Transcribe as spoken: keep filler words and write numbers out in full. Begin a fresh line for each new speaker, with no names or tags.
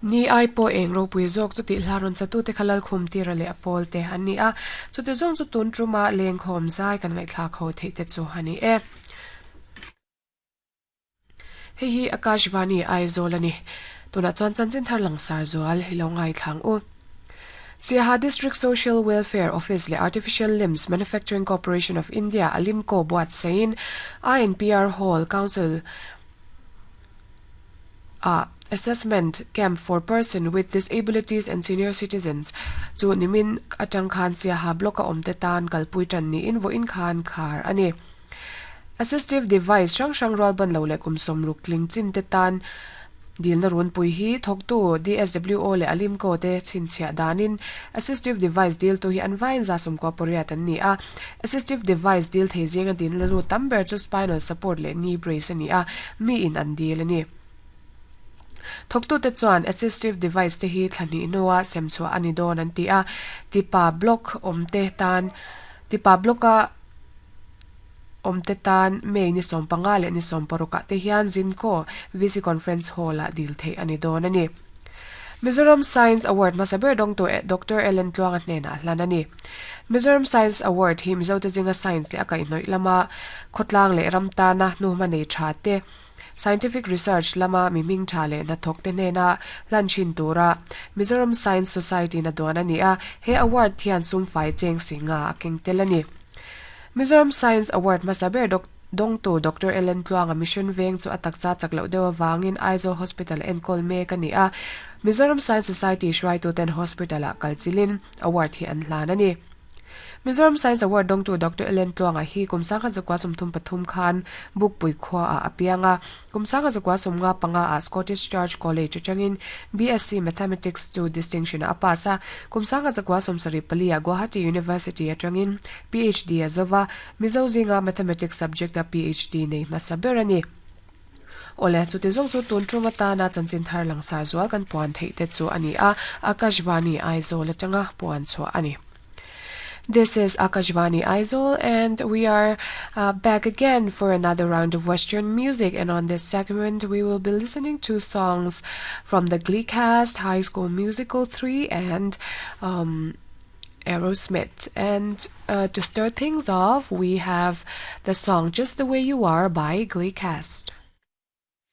Ni ai pawh eng ropui zawk chu tih hla rawn satu te kha Lalkhum tira leh a pawl te an ni a chute zawng chu tun tuma lengkhawm zai kan ngaihthlak ho theih te chu ani e. Hei hi Akashvani Aizawl ani tuna chuan chanchin thar langsar zual hi lo ngai thlang u. Siaha District Social Welfare Office le Artificial Limbs Manufacturing Corporation of India Alimco buat sein I N P R Hall Council a assessment camp for person with disabilities and senior citizens chu nimin atang khan Siaha block a awmte tan kalpui tan ni in vo in khan khar ani. Assistive device hrang hrang rual ban lo leh kum sawmruk tling chin te tan dilna run pui hi thawktu D S W O le Alimco te chhinchhiah danin assistive device dil tu hi an vain za sawmkua pariat an ni a. Assistive device dil thei zinga din la lu tam ber chu spinal support leh knee brace ani a, mi in an dil ani. Thawktu te chuan assistive device te hi thlahnih hnuah semchhuah ani dawn an ti a. Tipa block awmte tan tipa blocka awmte tan May ni sawm panga leh ni sawm parukah te hian Zinco V C Conference Hall ah dil theih ani dawn ani. Mizoram Science Award hmasa ber dawngtu Doctor Ellen Tluanga hnenah hlan ani. Mizoram Science Award hi Mizo te zinga science leh a kaihhnawih lama khawtlang leh ram tana hnuhma nei tha te, scientific research lama mi hming tha leh hnathawk te hnena hlan thin tura Mizoram Science Society na duan ani a. He award hian sumfai cheng singa a keng tel ani. Mizoram Science Award hmasa ber dawngtu Doctor Ellen Tluanga Mission Veng chu a taksa chak loh deuh awangin Aizawl Hospital enkawl mek ani a. Mizoram Science Society hruaitu ten hospital ah kalchilin award hi an hlan ani. Mizoram Science Award dawngtu Doctor Ellen Tluanga hi kum sangkhat zakua sawmthum pathum khan Bukpui khua ah a piang a. Kum sangkhat zakua sawmnga panga ah Scottish Church College atangin B S C Mathematics chu distinction a pass a. Kum sangkhat zakua sawmsarih pali ah Guwahati University atangin P H D a zova. Mizo zinga Mathematics subject a P H D nei hmasa ber ani. Ole, chu ti zawng chu tun tum atana chanchin thar langsar zual kan puan theih te chu ani a. Akashvani Aizawl atanga puan chhuah ani. This is Akashvani Aizawl, and we are uh, back again for another round of Western music. And on this segment, we will be listening to songs from the Glee cast, High School Musical three, and um, Aerosmith. And uh, to start things off, we have the song "Just the Way You Are" by Glee cast.